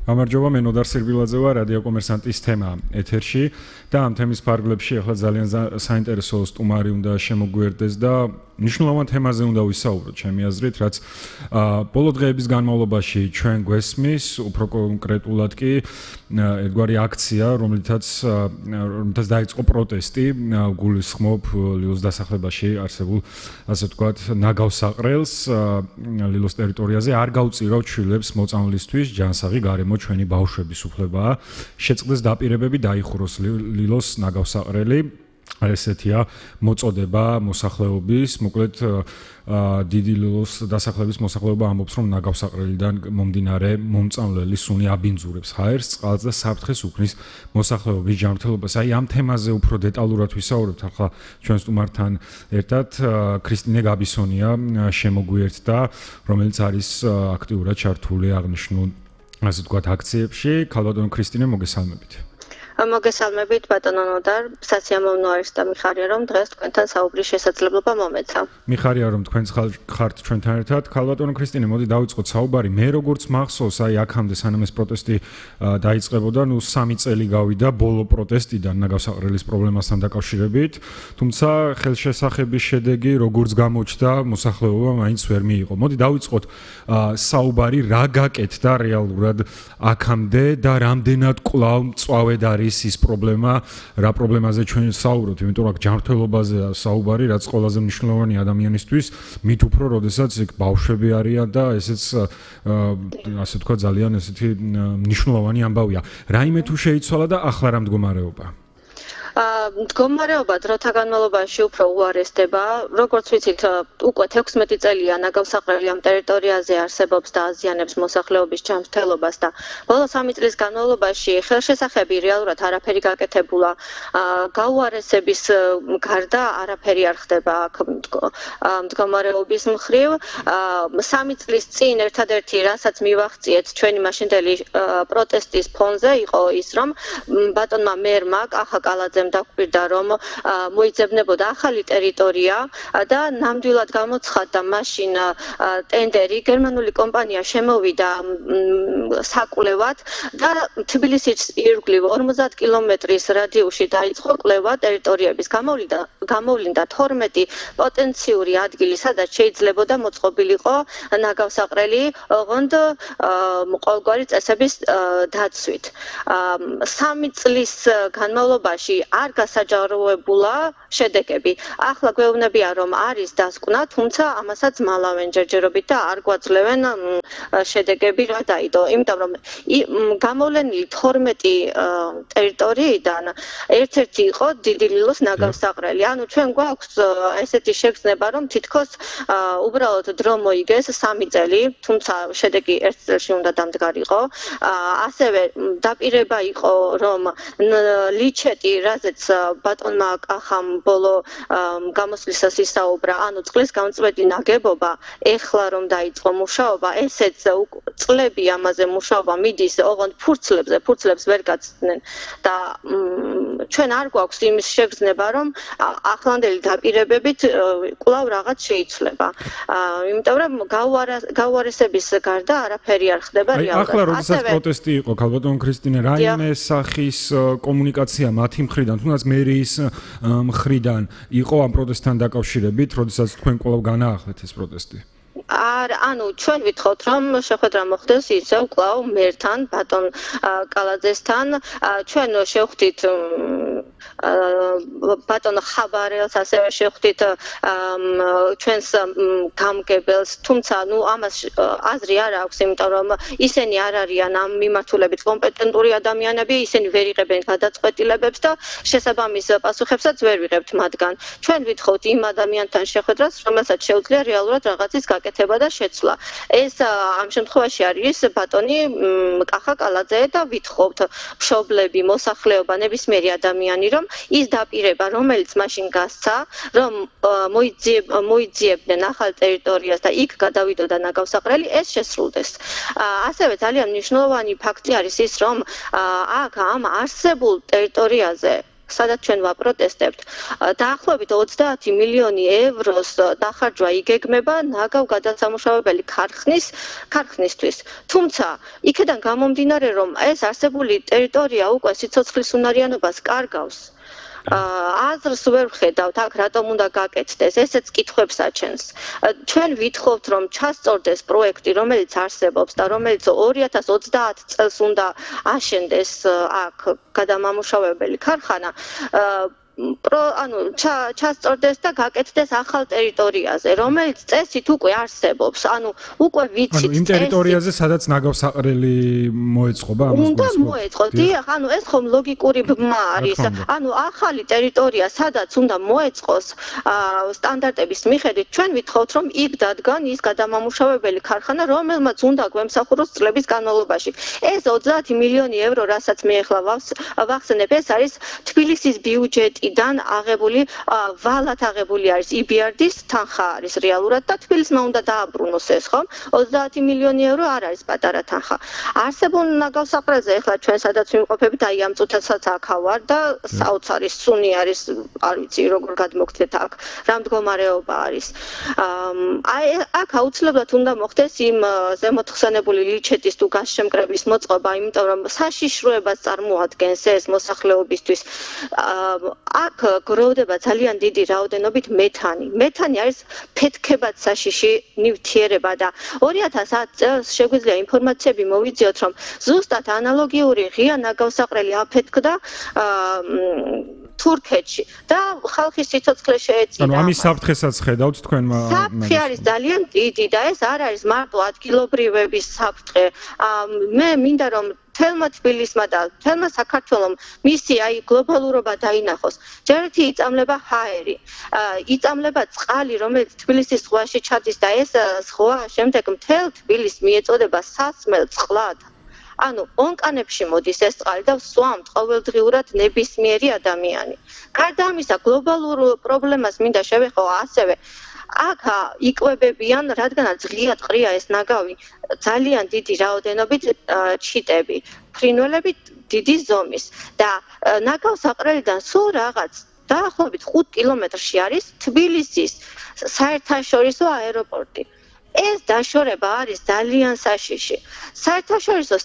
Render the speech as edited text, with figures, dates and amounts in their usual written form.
გამარჯობა, მე ნოდარ სირბილაძე ვარ, რადიო კომერსანტის თემა ეთერში და ამ თემის ფარგლებში ახლა ძალიან საინტერესო სტუმარი უნდა შემოგვიერთდეს და მნიშვნელოვან თემაზე უნდა ვისაუბროთ, ჩემი აზრით, რაც ბოლო დღეების განმავლობაში ჩვენ გვესმის, უფრო კონკრეტულად კი ერთგვარი აქცია, რომლითაც დაიწყო პროტესტი, გულისხმობ ლილოს დასახლებაში არსებულ, ასე ვთქვათ, ნაგავსაყრელს ლილოს ტერიტორიაზე არ გავწირავთ შვილებს მოწამვლისთვის, ჯანსაღი გარემო ჩვენი ბავშვების უფლებაა. შეწყდეს დაპირებები დაიხუროს ლილოს ნაგავსაყრელი. ესეთია მოწოდება მოსახლეობის, მოკლედ დიდი ლილოს დასახლების მოსახლეობა ამბობს, რომ ნაგავსაყრელიდან მომდინარე მომწამლელი სუნი აბინძურებს ჰაერს, წყალს და საფრთხეს უქმნის მოსახლეობის ჯანმრთელობას. აი ამ თემაზე უფრო დეტალურად ვისაუბრებთ ახლა ჩვენ სტუმართან ერთად ქრისტინე გაბისონია შემოგვიერთდა, რომელიც არის აქტიურად ჩართული აღნიშნულ, ასე ვთქვათ, აქციებში. ქალბატონო ქრისტინე, მოგესალმებით. მოგესალმებით ბატონო ნოდარ, სასიამოვნო არის და მიხარია რომ დღეს თქვენთან საუბრის შესაძლებლობა მომეცა. მიხარია რომ თქვენ ხართ ჩვენთან ერთად. ქალბატონო ქრისტინე, მოდი დავიწყოთ საუბარი. მე როგორც მახსოვს, აი აქამდე სანამ ეს პროტესტი დაიწყებოდა, 3 წელი გავიდა ბოლო პროტესტიდან ნაგავსაყრელის პრობლემასთან დაკავშირებით, თუმცა ხელშესახების შედეგი როგორც გამოჩნდა, მოსახლეობა მაინც ვერ მიიღო. მოდი დავიწყოთ საუბარი, რა გაკეთდა რეალურად აქამდე და რამდენად კვლავ მწვავედ არის ის პრობლემა, რა პრობლემაზე ჩვენ საუბრობთ, იმიტომ რომ ჯანმრთელობაზეა საუბარი, რაც ყველაზე მნიშვნელოვანი ადამიანისთვის, მით უფრო, როდესაც იქ ბავშვები არიან და ესეც ასე თქვა ძალიან ესეთი მნიშვნელოვანი ამბავია. რაიმე თუ შეიცვალა და ახლა რა მდგომარეობა? მდგომარეობა დროთა განმავლობაში უფრო უარესდება. როგორც ვიცით, უკვე 16 წელია ნაგავსაყრელი ამ ტერიტორიაზე არსებობს და აზიანებს მოსახლეობის ჯანმრთელობას და ბოლო 3 წლის განმავლობაში ხელშესახები რეალურად არაფერი გაკეთებულა. გაუარესების გარდა არაფერი არ ხდება აქ მდგომარეობის მხრივ. 3 წლის წინ ერთადერთი რასაც მივახციეთ ჩვენი მაშინდელი პროტესტის ფონზე იყო ის, რომ ბატონმა მერმა კახა კალაძემ დაგვირდა, რომ მოიძებნებოდა ახალი ტერიტორია და ნამდვილად გამოცხადდა მაშინ ტენდერი, გერმანული კომპანია შემოვიდა საკვლევად და თბილისის ირგვლივ 50 კილომეტრის რადიუსში დაიწყო კვლევა ტერიტორიების. გამოვლინდა 12 პოტენციური ადგილი, სადაც შეიძლებოდა მოწყობილიყო ნაგავსაყრელი, ოღონდ ყოველგვარი წესების დაცვით. 3 წლის განმავლობაში არ გასაჯაროებულა შედეგები. ახლა გვეუბნებიან, რომ არის დასკვნა, თუმცა ამასაც მალავენ ჯერჯერობით და არ გვაძლევენ შედეგები რა დაიდო. იმიტომ რომ გამოვლენილი 12 ტერიტორიიდან ერთ-ერთი იყო დიდი ლილოს ნაგავსაყრელი. ანუ ჩვენ გვაქვს ესეთი შეგრძნება, რომ თითქოს უბრალოდ დრო მოიგეს 3 წელი, თუმცა შედეგი 1 წელში უნდა დამდგარიყო. ასევე დაპირება იყო, რომ ლიჩეტი რაზეც ბატონმა კახამ ბოლო გამოსვლისას ისაუბრა, ანუ წყლის გამწვედი ნაგებობა, ეხლა რომ დაიწყო მუშაობა, ესეც წლები ამაზე მუშაობა მიდის, ოღონდ ფურცლებს ვერ გაცდნენ და ჩვენ არ გვაქვს იმის შეგრძნება, რომ ახლანდელი დაპირებებით კვლავ რაღაც შეიცვლება. იმიტომ რომ გაუარესების გარდა არაფერი არ ხდება რეალურად. ახლა როდესაც პროტესტი იყო, ქალბატონო ქრისტინე, რაიმე სახის კომუნიკაცია მათი მხრიდან, თუნდაც მერიის მხრიდან იყო ამ პროტესტთან დაკავშირებით, როდესაც თქვენ კვლავ განაახლეთ ეს პროტესტი? ანუ ჩვენ ვითხოვთ, რომ შეხვედრა მოხდეს ისევ კვლავ მერთან, ბატონ კალაძესთან. ჩვენ შევხვდით ბატონ ხაბარელს, ასევე შევხვდით ჩვენს გამგებელს, თუმცა ამას აზრი არ აქვს, იმიტომ რომ ისინი არ არიან ამ მიმართულებით კომპეტენტური ადამიანები, ისინი ვერ იღებენ გადაწყვეტილებებს და შესაბამის პასუხებსაც ვერ ვიღებთ მათგან. ჩვენ ვითხოვთ იმ ადამიანთან შეხვედრას, რომელსაც შეუძლია რეალურად რაღაცის გაკეთება და შეცვლა. ეს ამ შემთხვევაში არის ბატონი კახა კალაძე და ვითხოვთ მშობლები, მოსახლეობა, ნებისმიერი ადამიანი, რომ ის დაპირება, რომელიც მაშინ გასცა, რომ მოიძიებდნენ ახალ ტერიტორიას და იქ გადავიდოდა ნაგავსაყრელი, ეს შესრულდეს. ასევე ძალიან მნიშვნელოვანი ფაქტი არის ის, რომ აქ ამ არსებულ ტერიტორიაზე სადაც ჩვენ ვაპროტესტებთ, დაახლოებით 30 მილიონი ევროს დახარჯვა იგეგმება ნაგავ გადასამუშავებელი ქარხნისთვის. თუმცა, იქედან გამომდინარე, რომ ეს არსებული ტერიტორია უკვე სიცოცხლის უნარიანობას კარგავს, აზრს ვერ ვხედავთ აქ რატომ უნდა გაკეთდეს, ესეც კითხვებს აჩენს. ჩვენ ვითხოვთ რომ ჩასწორდეს პროექტი, რომელიც არსებობს და რომელიც 2030 წელს უნდა აშენდეს აქ გადამამუშავებელი ქარხანა. ჩასწორდეს და გაკეთდეს ახალ ტერიტორიაზე, რომელიც წესით უკვე არსებობს. უკვე ვიცით იმ ტერიტორიაზე, სადაც ნაგავსაყრელი მოეწყობა ამას. უნდა მოეწყოს. დიახ, ეს ხომ ლოგიკური ბმა არის. ახალი ტერიტორია, სადაც უნდა მოეწყოს სტანდარტების მიხედვით, ჩვენ ვითხოვთ, რომ იქ დადგან ის გადამამუშავებელი ქარხანა, რომელმაც უნდა გვემსახუროს წლების განმავლობაში. ეს 30 მილიონი ევრო, რასაც მე ახლა ვახსენებ, ეს არის თბილისის ბიუჯეტი. დან აღებული ვალად აღებული არის EBRD-ის თანხა არის რეალურად და თბილისმა უნდა დააბრუნოს ეს ხომ 30 მილიონი ევრო არ არის პატარა თანხა. არსებულ ნაგავსაყრელზე ახლა ჩვენ სადაც ვიმყოფებით, აი ამ წუთასაც აქ ავარ და საოცარი სუნი არის, არ ვიცი როგორ გადმოგცეთ აქ, რა მდგომარეობა არის. აი აქ აუცილებლად უნდა მოხდეს იმ ზემოთხსენებული ლიჩეთის თუ გასშემკრების მოწყობა, იმიტომ რომ საშიშროებას წარმოადგენს ეს მოსახლეობისთვის. აქ გროვდება ძალიან დიდი რაოდენობით მეთანი. მეთანი არის ფეთქებად საშიში ნივთიერება და 2010 წელს შეგვიძლია ინფორმაციები მოვიძიოთ, რომ ზუსტად ანალოგიური ღია ნაგავსაყრელი აფეთქდა თურქეთში და ხალხის სიცოცხლე შეეწირა. ამის საფრთხესაც ხედავთ თქვენ საფრთხე არის ძალიან დიდი და ეს არ არის მარტო ადგილობრივების საფრთხე. მე მინდა რომ თელმა თბილისმა და თელმა საქართველომ მისი გლობალურობა დაინახოს. ჯერ ერთი იწამლება ჰაერი, იწამლება წყალი, რომელიც თბილისის ზღვაში ჩადის და ეს ზღვა შემდეგ მთელ თბილისს მიეწოდება სასმელ წყლად. ონკანებში მოდის ეს წყალი და სვამთ ყოველდღიურად ნებისმიერი ადამიანი. გარდა ამისა, გლობალურ პრობლემას მინდა შევეხო ასევე აქ იკვებებიან, რადგანაც ღიად ყრია ეს ნაგავი, ძალიან დიდი რაოდენობით ჩიტები, ფრინველები დიდი ზომის და ნაგავსაყრელიდან სულ რაღაც დაახლოებით 5 კილომეტრში არის თბილისის საერთაშორისო აეროპორტი. ეს დაშორება არის ძალიან საშიში. საერთაშორისო